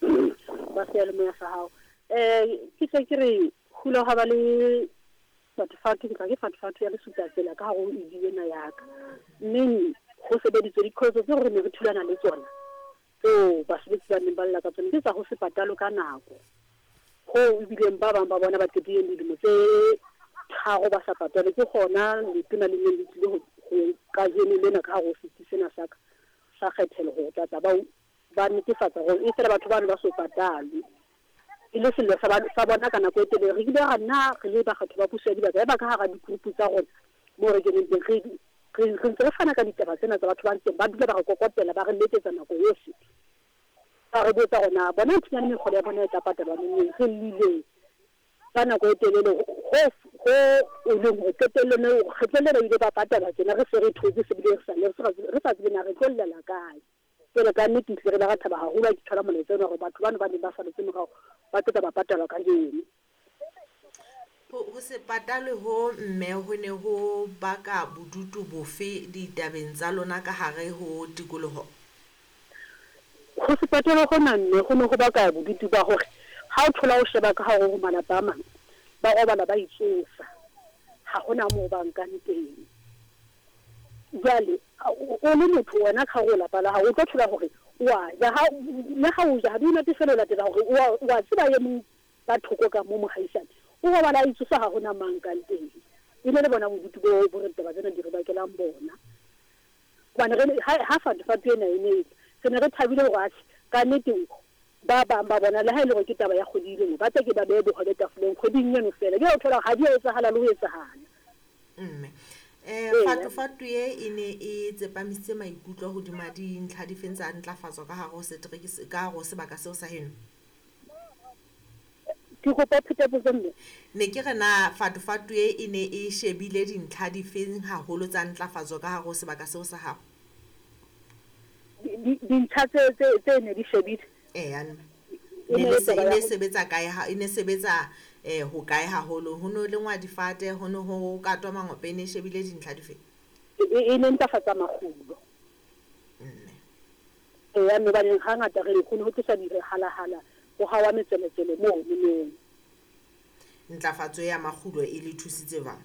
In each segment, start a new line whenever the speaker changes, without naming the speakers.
ba ba seyalemoya sa hao. Ke tle ke re hula ha ba le fatofatu, ke tla ke fatofatu ya lesuta tsela ka hare ho ED ena ya ka. Mme ho sebeditswe diqholotso tseo re ne re thulana le tsona tseo basebetsi ba neng ba lla ka tsona ke tsa ho se patalwe ka nako. Hoo ebileng ba bang ba bona ba qetileng dilemo tse 3 ba sa patalwe. Ke hona letona le neng le tlile ho kajeno lena ka hare ho setsi sena sa ka sa kgethelo ho tlatla ba netefatsa hore e fela batho bano ba so patalwe. E le sello sa bona ka nako e telele. Re ile ra nna re le bakgatho ba puso ya dibaka, ya ba ka hara di-group tsa rona moo re keneng teng, re ntse re fana ka ditaba tsena tsa batho ba ntseng ba dula ba re kokotela, ba re letsetsa nako yohle, ba re botsa hore na bona nthunyane mekgolo ya bona e tla patalwa neng. Re llile ka nako e telele ho e leng hore qetellong kgetlong lena ile ba patalwa tjena, re se re thotse se bile re sa tsebe na re tlo llela kae. Jwale ka nnete ehlile re ile ra thaba haholo ha ke thola molaetsa ona hore batho bano ba neng ba saletse morao ba tlo tla ba patalwa kajeno.
Ho se patalwe ho mme ho ne ho baka bodutu bofe ditabeng tsa lona ka hare ho tikoloho?
Ho se patalwe hona mme ho ne ho baka bodutu ba hore ha o thola o sheba ka hare ho malapa a mang, ba robala ba itsosa, ha hona moo ba nkang teng. Jwale o le motho wena ka hare ho lapa la hao, o tlo thola hore wa ja, le ha o ja ha di o natefele, o latela hore wa tseba e mong ka thoko ka mo mohaisane o robala a itsosa, ha hona mang kang teng. E ne le bona bodutu bo bo re ditaba tsena di re bakelang bona. Hobane re ha fatofatu ena e ne e tla, re ne re thabile hore atjhe ka nnete ba bang ba bona le ha e le hore ke taba ya kgwedi e le nngwe, ba tla ke ba behe bohobe tafoleng kgweding eno feela. Jwale o thola hore ha di a etsahala le ho etsahala.
Mme fatofatu e ne e tsepamisitse maikutlo hodima dintlha difeng tsa ntlafatso ka hare ho setereke, ka hare ho sebaka seo sa heno?
Ke kopa pheta potso mme.
Ne ke re na fatofatu e ne e shebile dintlha difeng haholo tsa ntlafatso ka hare ho sebaka seo sa hao?
Dintlha tse ne di shebile.
Eya mme. E ne sebetsa kae ha e ne sebetsa ho kae haholo? Ho no lengwa difate, ho no ho katwa mangope, e ne shebile dintlha difeng?
E ne ntlafatsa makgulo.
Mme.
Eya mme, hobane hangata re ho ne ho tloswa dihalahala, ho hawa metsweletswele moo moo.
Ntlafatso ya makgulo e le thusitse jwang?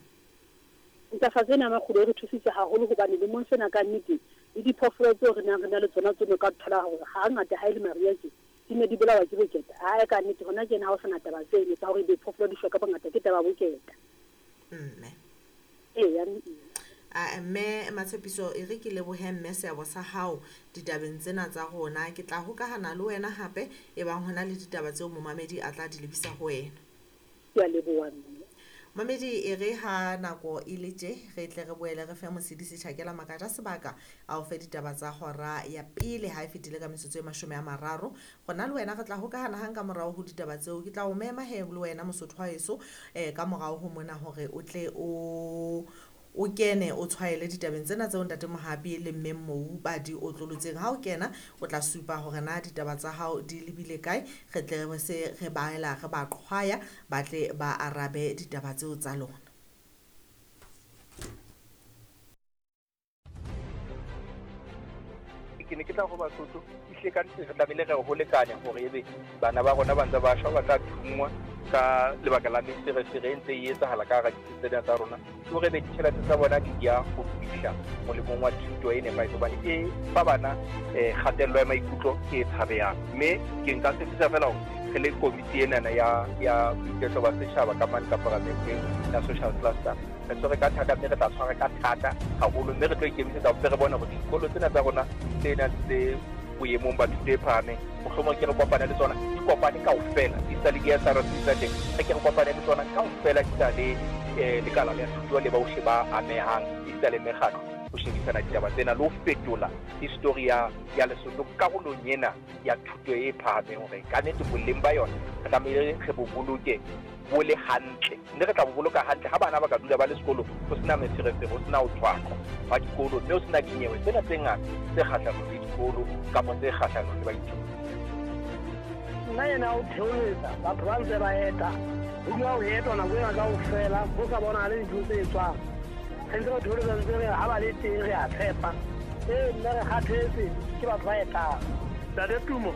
Ntlafatso ena ya makgulo e re thusitse haholo hobane lemong sena ka nnete le diphoofolo tseo re nang re na le tsona tseno ka thola hore hangata ha e le mariha tje di ne di bolawa ke boketa. Ae ka nnete hona tjena ha ho sana taba tseno tsa hore diphoofolo di shwa ka bongata, ke taba ya boketa.
Mme.
Eya mme.
A mme Matshepiso, e re ke lebohe mme seabo sa hao ditabeng tsena tsa rona. Ke tla hokahana le wena hape e bang hona le ditaba tseo momamedi a tla di lebisa ho wena.
Ke a leboha mme.
Mamedi, e re ha nako e le tje, re tle re boele re fe Mosedisi Tjhakela Makaja sebaka a o fe ditaba tsa hora ya pele ha e fetile ka metsotso e 30. Rona le wena re tla hokahana hang ka morao ho ditaba tseo. Ke tla o mema he le wena Mosotho wa heso ka morao ho mona hore o tle o kene o tshwaele ditabeng tsena tseo Ntate Mohapi le Mme Mou ba di otlolotseng. Ha o kena o tla supa hore na ditaba tsa hao di lebile kae, re tle re se re baela re ba qhwaya ba tle ba arabe ditaba tseo tsa lona.
Ke ne ke tla ho Basotho ehlile ka nnete re tlamehile re ho lekane hore ebe bana ba rona ba ntse ba shwa, ba tla thunngwa ka lebaka la meferefere e ntse e etsahala ka hara ditsi tsena tsa rona, ke hore ebe ditjhelete tsa bona di ya ho fihla molemong wa thuto e nepahetseng, hobane e fa bana kgatello ya maikutlo e tshabehang. Mme ke nka tshepisa fela hore re le komiti enana ya boiketlo ba setjhaba ka mane ka paramenteng ya social cluster, re tshwere ka thata mme re tla tshwara ka thata haholo, mme re tlo ikemisetsa hore re bone hore dikolo tsena tsa rona tse nang tse boemong ba thuto e phahameng, mohlomong ke re kopane le tsona, di kopane kaofela, di sa le di-S R C tsa teng, re ke re kopane le tsona kaofela, di sa le lekala la thuto le bohle ba amehang, di sa le mekgatlo, ho shebisana ditaba tsena le ho fetola history ya Lesotho karolong ena ya thuto e phahameng, hore ka nnete boleng ba yona re tlamehile re bo boloke bo le hantle, mme re tla bo boloka hantle ha bana ba ka dula ba le sekolong, ho sena meferefere, ho sena ho tshwaqwa hwa dikolo, mme ho sena dinyewe tsena tse ngata tse kgahlanong le dikolo kapa tse kgahlanong le baithuti.
Nna ena o theoletsa batho ba ntse ba eta, ho dula ho etwa nako ena kaofela, ho sa bonahale dintho tse etswang. Re ntse re theoletsa, ntse re ha ba le teng re a tshepa. Ee, mme re kgathetse ke batho ba etang. Ntate Tumo.